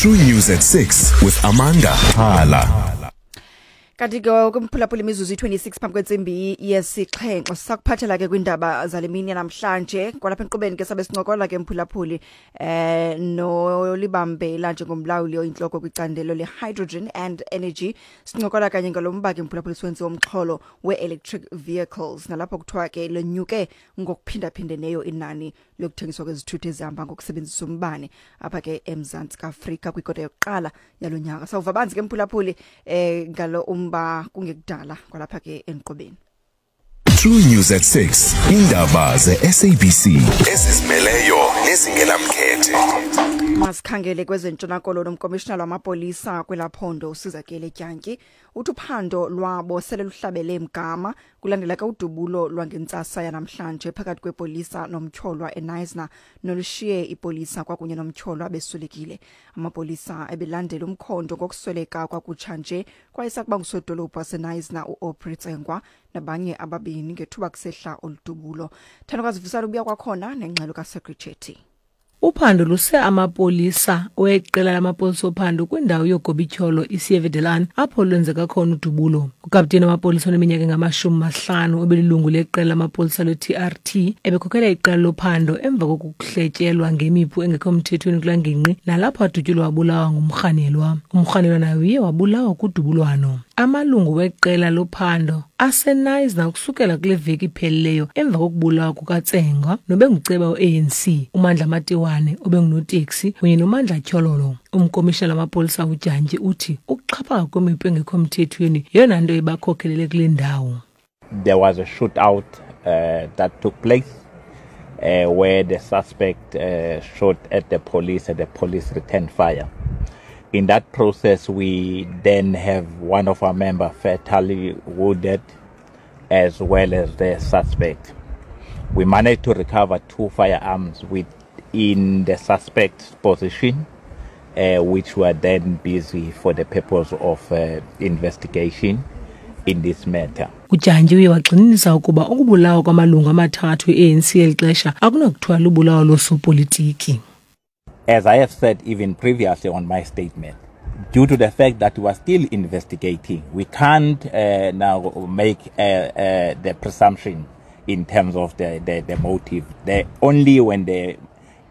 True News at 6 with Amanda Hala. Kanti ke kumphulaphula imizuzu i-26 phambi kwentsimbi yesixhenxe, sakuphathela ke kwiindaba zale mini namhlanje. Kwalapha enkqubeni ke sabe sincokola ke, mphulaphuli, nolibambela njengomlawuli oyintloko kwicandelo le-hydrogen and energy. Sincokola kanye ngalo mba ke, mphulaphuli, siwenziwe umxholo we-electric vehicles, nalapho kuthiwa ke lenyuke ngokuphindaphindeneyo inani lokuthengiswa kwezithuthi ezihamba ngokusebenzisa umbane apha ke eMzantsi Afrika kwikota yokuqala yalo nyaka. Sawuva banzi ke, mphulaphuli, ngalo umba kungekudala kwalapha ke enkqubeni. True News at 6. Indaba ze-SABC ezizimeleyo nezingenamkhethe. Masikhangele kwezentshona Koloni. Umkomishinala wamapolisa kwelaa phondo, uSizakele Dyantyi, uthi uphando lwabo sele luhlabele mgama kulandela ke udubulo lwangentsasa yanamhlanje phakathi kwepolisa nomtyholwa eKnysna, nolushiye ipolisa kwakunye nomtyholwa beswelekile. Amapolisa ebelandela umkhondo ngokusweleka kwakutsha nje kwayesakuba ngusodolophu waseKnysna, uAubrey Tsengwa, nabanye ababini ngethuba kusehla oludubulo. Thandokazi Vusana ubuya kwakhona nengxelo kaSecretary. Uphando luse amapolisa weqela lamapolisa ophando kwindawo yogobityholo iSievedelan, apho lwenzeka khona udubulo. Ukapteni wamapolisa oneminyaka engama-50 obelilungu leqela lamapolisa lwe-TRT ebekhokhela iqela lophando emva kokuhletyelwa ngemipu engekho mthethweni kulaa ngingqi, nalapho adutyulwa wabulawa ngumrhanelwa. Umrhanelwa naye uye wabulawa kudubulwano. Amalungu weqela lophando aseKnysna ukusukela kule veki iphelileyo emva kokubulawa kukaTsengwa nobenguceba we-ANC, uMandla Matiwane obengunoteksi, kunye noMandla Tyhololo. Umkomishinala wamapolisa uDyantyi uthi ukuxhaphaka kwemipu engekho mthethweni yeyona nto ibakhokhelele kule ndawo. There was a shootout that took place where the suspect shot at the police and the police returned fire. In that process, we then have one of our members fatally wounded as well as the suspect. We managed to recover two firearms within the suspect's position, which were then busy for the purpose of investigation in this matter. UDyantyi uye wagxininisa ukuba ukubulawa kwamalungu amathathu e-ANC eli xesha akunakuthiwa lubulawo losopolitiki. As I have said even previously on my statement, due to the fact that we are still investigating, we can't now make the presumption in terms of the motive. Only when the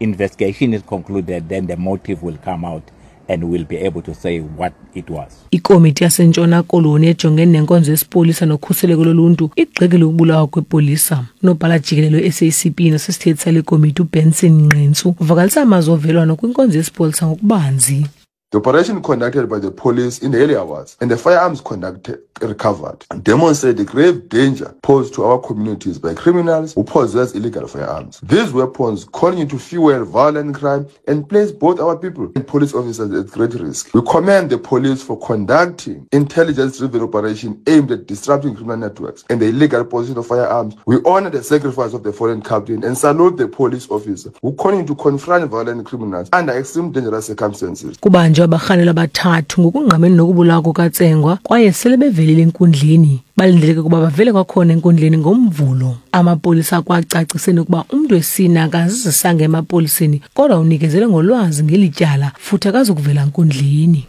investigation is concluded, then the motive will come out and we'll be able to say what it was. Ikomiti yaseNtshona Koloni ejongene nenkonzo yesipolisa nokhuseleko loluntu igxekile ukubulawa kwepolisa. Unobhala jikelele we-SACP nosisithethi sale komiti, uBenson Nqentsu, uvakalisa amazwi ovelwano kwinkonzo yesipolisa ngokubanzi. The operation conducted by the police in the early hours and the firearms conducted, recovered demonstrate the grave danger posed to our communities by criminals who possess illegal firearms. These weapons continue to fuel violent crime and place both our people and police officers at great risk. We commend the police for conducting intelligence-driven operation aimed at disrupting criminal networks and the illegal possession of firearms. We honor the sacrifice of the fallen captain and salute the police officer who continue to confront violent criminals under extreme dangerous circumstances. Kubanjwe abarhanelwa abathathu ngokungqamene nokubulawa kukaTsengwa kwaye sele bevelile enkundleni. Balindeleke ukuba bavele kwakhona enkundleni ngoMvulo. Amapolisa akwacaciseni ukuba umntu wesine akazizisanga emapoliseni kodwa unikezele ngolwazi ngeli tyala futhi akazukuvela nkundleni.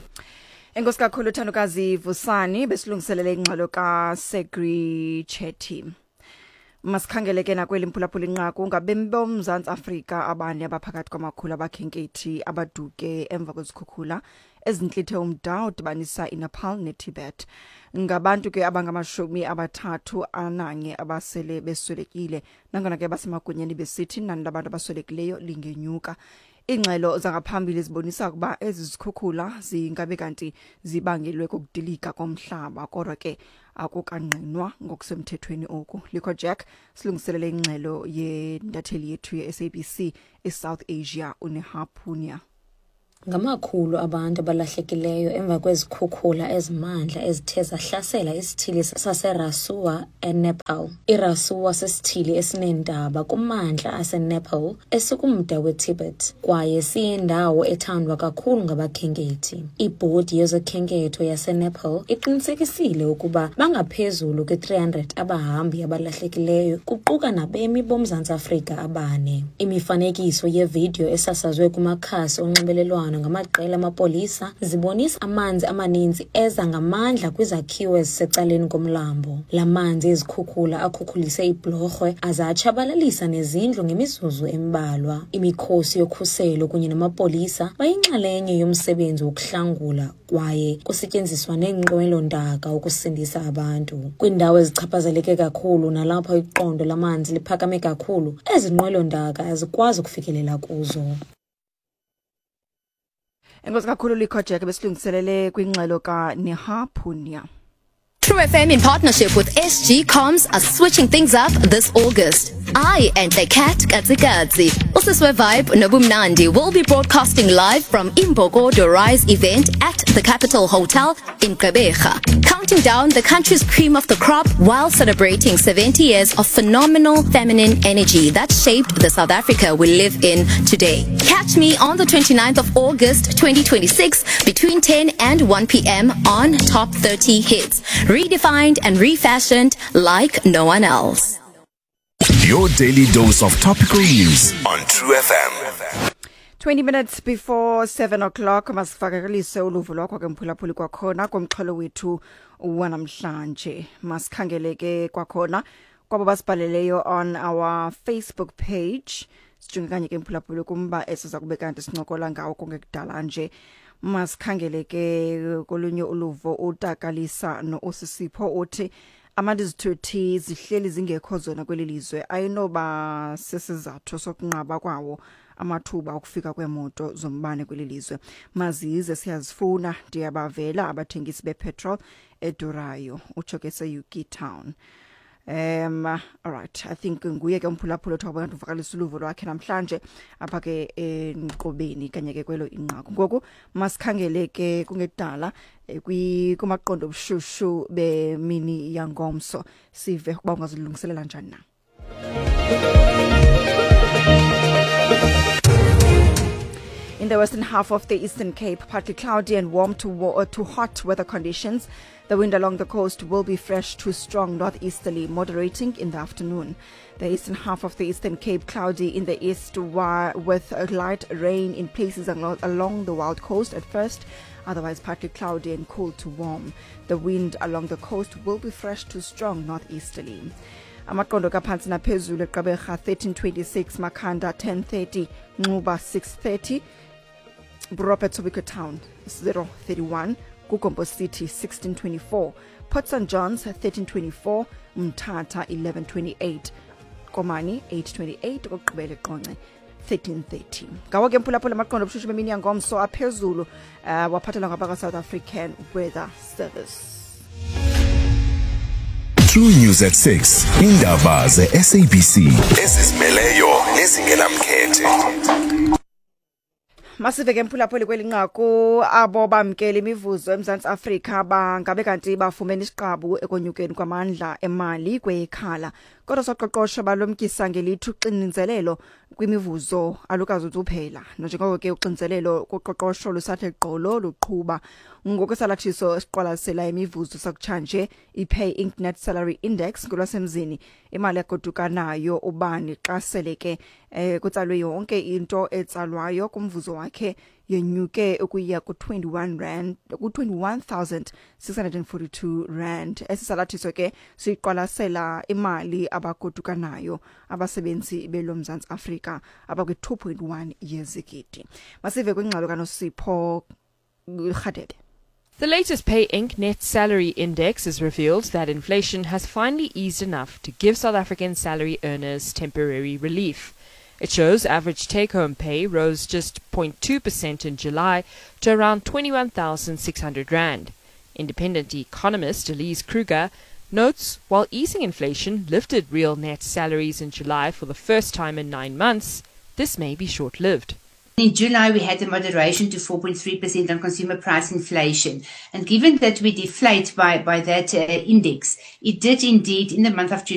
Enkosi kakhulu, Thandokazi Vusani, besilungiselele ingxelo kaSegri Chetty. Masikhangele ke nakweli, mphulaphula, inqaku ngabemi boMzantsi Afrika abane abaphakathi kwamakhulu abakhenkethi abaduke emva kwezikhukhula ezintlithe umda odibanisa iNepal neTibet. Ngabantu ke abangama-31 abasele beswelekile, nangona ke basemagunyeni besithi inani labantu abaswelekileyo lingenyuka. Iingxelo zangaphambili zibonisa ukuba ezi zikhukhula zingabe kanti zibangelwe kukudilika komhlaba, kodwa ke akukangqinwa ngokusemthethweni oku. Likho Jack silungiselele ingxelo yentatheli yethu ye-SABC eSouth Asia, uNeha Punia. Ngamakhulu abantu abalahlekileyo emva kwezikhukhula ezimandla ezithe zahlasela isithili saseRasuwa eNepal. IRasuwa sisithili esineentaba kumantla aseNepal esikumda weTibet kwaye siyindawo ethandwa kakhulu ngabakhenkethi. Ibhodi yezokhenketho yaseNepal iqinisekisile ukuba bangaphezulu kwe-300 abahambi abalahlekileyo, kuquka nabemi boMzantsi Afrika abane. Imifanekiso yevidiyo esasazwe kumakhasi onxibelelwano zonxibelelwano ngamaqela amapolisa zibonisa amanzi amaninzi eza ngamandla kwizakhiwo ezisecaleni komlambo. La manzi ezikhukhula akhukhulise iibhlorhwe aze atshabalalisa nezindlu ngemizuzu embalwa. Imikhosi yokhuselo kunye namapolisa bayinxalenye yomsebenzi wokuhlangula kwaye kusetyenziswa neenqwelo-ntaka ukusindisa abantu. Kwiindawo ezichaphazeleke kakhulu nalapho iqondo lamanzi liphakame kakhulu, ezi nqwelo-ntaka azikwazi ukufikelela kuzo. Enkosi kakhulu Likho Jack besilungiselele kwingxelo kaNeha Punya. True FM in partnership with SG Comms are switching things up this August. I and the cat Katsikatsi, Usiswe Vibe Nobumnandi will be broadcasting live from Imbokodo Rise event at the Capital Hotel in Gqeberha, counting down the country's cream of the crop while celebrating 70 years of phenomenal feminine energy that shaped the South Africa we live in today. Catch me on the 29th of August 2026 between 10 and 1 p.m. on Top 30 Hits, redefined and refashioned like no one else. Your daily dose of topical news on True FM. 20 minutes before 7 o'clock, masifakelise uluvo lwakho ke mphulaphuli kwakhona kumxholo wethu wanamhlanje. Masikhangele ke kwakhona kwabo basibhaleleyo on our Facebook page. Sijonge kanye ke mphulaphuli kumba esiza kube kanti sincokola ngawo kungekudala nje. Masikhangele ke kolunye uluvo, utakalisa no-Usisipho uthi amandla izithuthi zihleli zingekho zona kweli lizwe ayinoba sisizathu sokunqaba kwawo amathuba okufika kweemoto zombane kweli lizwe. Mazize, siyazifuna. Ndiyabavela abathengisi bepetrol edurayo. Utsho ke seyuki Town. All right, I think nguye ke umphulaphula othi wabantu uvakalisa uluvo lwakhe namhlanje apha ke enkqubeni kanye ke kwelo inqaku. Ngoku masikhangele ke kungekudala kumaqondo obushushu bemini yangomso, sive ukuba ungazilungiselela njani na. In the western half of the Eastern Cape, partly cloudy and warm to hot weather conditions. The wind along the coast will be fresh to strong northeasterly, moderating in the afternoon. The eastern half of the Eastern Cape, cloudy in the east with light rain in places along the wild coast at first, otherwise partly cloudy and cool to warm. The wind along the coast will be fresh to strong northeasterly. Amaqondo kaphantsi naphezulu eGqeberha 1326, Makhanda 1030, Nxuba 630, Robert Sobukwe Town 031, KuGompo City 1624, Port St Johns 1324, Mthatha 1128, Komani 828, okugqibela eQonce 1330. Ngawo ke mphulaphula amaqondo obushushu bemini yangomso aphezulu, waphathelwa ngabaka-South African Weather Service. True News at 6. Indaba ze-SABC ezizimeleyo nezingenamkhethe. Masive ke mphulaphuli kweli nqaku. Abo bamkela imivuzo eMzantsi Afrika bangabe kanti bafumene isiqabu ekonyukeni kwamandla emali kwekhala, kodwa soqoqosho balumkisa ngelithi uxinizelelo kwimivuzo alukazuzuphela, nanjengoko ke uxinizelelo kuqoqosho lusathe gqolo luqhuba. Ngokwesalathiso esiqwalasela imivuzo sakutshanje, iPay Inc Net Salary Index ngolwasemzini, imali agoduka nayo ubani xa sele ke kutsalwe yonke into etsalwayo kumvuzo wakhe, yenyuke ukuya ku-21 rand, ku-21,642 rand. Esi salathiso ke siqwalasela imali abagoduka nayo abasebenzi beloMzantsi Afrika abakwi-2.1 yezigidi. Masive kwingxelo kaNosipho Rhadebe. The latest Pay Inc. Net Salary Index has revealed that inflation has finally eased enough to give South African salary earners temporary relief. It shows average take home pay rose just 0.2% in July to around 21,600 Rand. Independent economist Elise Kruger notes while easing inflation lifted real net salaries in July for the first time in 9 months, this may be short lived. In July, we had a moderation to 4.3% on consumer price inflation. And given that we deflate by that index, it did indeed in the month of July